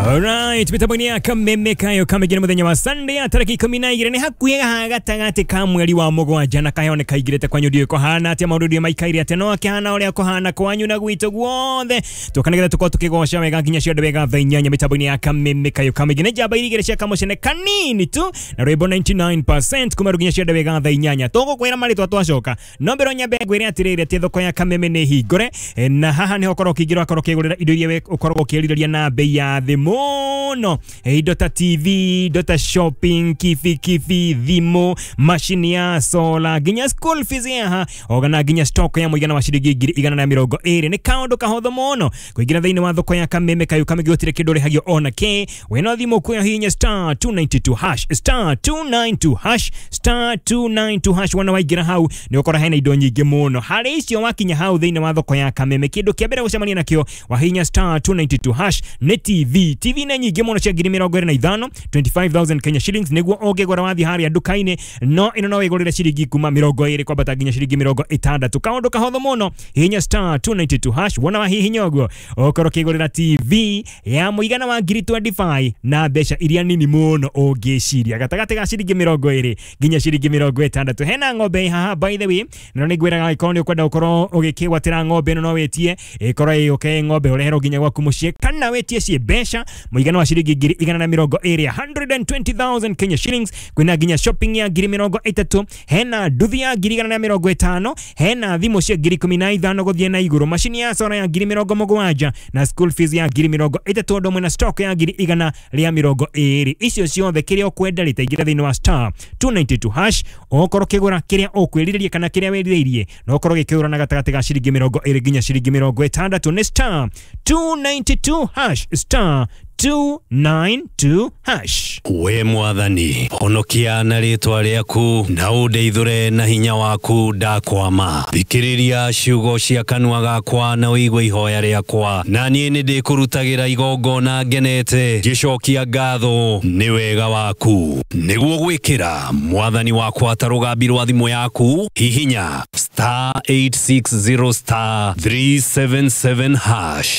Alright, mitambo-inĩ ya Kameme kayo kamĩingĩ nĩ mũthenya wa Sunday ya tarĩki 12 nĩ hakuhĩ haha gatagatĩ ka mweri wa 7 na kayo nĩ kaingĩrĩte kwanyu. Ndiũĩ kũhana atĩa, maũndũ ndiũĩ maikaire atĩa, no akĩhana ũrĩa kũhana kwanyu na gwitũ guothe. Tũka nĩgetha tũkorwo tũkĩgoca wega nginya ciothe wega thaa 8 mitambo-inĩ ya Kameme kayo kamĩingĩ nĩ njamba 2 cia kamũcene kanini tu na rwĩmbo 99% kuma rĩu nginya ciothe wega thaa 8. Tũgũkwĩra marĩtwa twacoka, no mbere nyambe ngwĩre atĩrĩrĩ atĩ thoko ya Kameme nĩ hingũre, na haha nĩho ũkorwo ũkĩingĩra ũgakorwo ũkĩgũrĩra indo iria we ũkoragwo ũkĩrirĩria na bei ya thĩ mũno. Indo ta TV, indo ta shopping, kibikibi, thimũ, macini ya solar, nginya school fees haha ogana nginya stock ya mũigana wa ciringi 120,000. Nĩ kaũndũ kahũthũ mũno kũingĩra thĩinĩ wa thoko ya Kameme kayo kamĩngĩ, gũtirĩ kĩndũ ũrĩhagio ona kĩ. Wĩna thimũ kuoya hinya star 292 hash, star 292 hash, star 292 hash. Wona waingĩra hau nĩ ũkora hena indo nyingĩ mũno harĩ icio. Wakinya hau thĩinĩ wa thoko ya Kameme, kĩndũ kĩa mbere gũcemania nakĩo wahinya star 292 hash nĩ TV. TV nĩ nyingĩ mũno cia 25,000, 25,000 Kenya shillings nĩguo ũngĩgũra wathiĩ harĩa nduka-inĩ, no ĩno no wĩgũrĩre ciringi kuma 20 kwambata nginya ciringi 60. Kaũndũ kahũthũ mũno, hihinya star 292 hash. Wona wahihinya ũguo ũkorwo ũkĩgũrĩra TV ya mũigana wa 25,000 na mbeca iria nini mũno ũngĩciria, gatagatĩ ga ciringi 20 nginya ciringi 60. Hena ng'ombe haha, by the way, na nĩ ngwĩraga angĩkorwo nĩ ũkwenda gũkorwo ũgĩkĩgwatĩra ng'ombe ĩno, no wĩtie ĩkorwo ĩyũke ng'ombe ũreherwo nginya gwaku mũciĩ, kana wĩtie ciĩ mbeca mũigana wa ciringi 120,000, 120,000 Kenya shillings. Kwĩna nginya shopping ya 30,000, hena nduthi ya 150,000, hena thimũ cia 15,000 gũthiĩ na igũrũ, macini ya solar ya 70,000 na school fees ya 30,000, ũndũ ũmwe na stock ya 120,000. Icio ciothe kĩrĩa ũkwenda rĩtaingĩra thĩinĩ wa star 292 hash, ũkorwo ũkĩgũra kĩrĩa ũkwĩrirĩria kana kĩrĩa wĩrirĩirie, na ũkorwo ũgĩkĩgũra na gatagatĩ ga ciringi 20 nginya ciringi 60. Nĩ star 292 hash, star 292 hash. We Mwathani, honokia na rĩtwa rĩaku na ũndeithũre na hinya waku. Ndakwama, thikĩrĩria ciugo cia kanua gakwa na ũigue ihoya rĩakwa, na niĩ nĩ ndĩkũrutagĩra igongona ngenete ngĩcokia ngatho nĩ wega waku. Nĩguo gwĩkĩra Mwathani wakwa ta rũgambi rwa thimũ yaku, hihinya star 860 star 377 hash.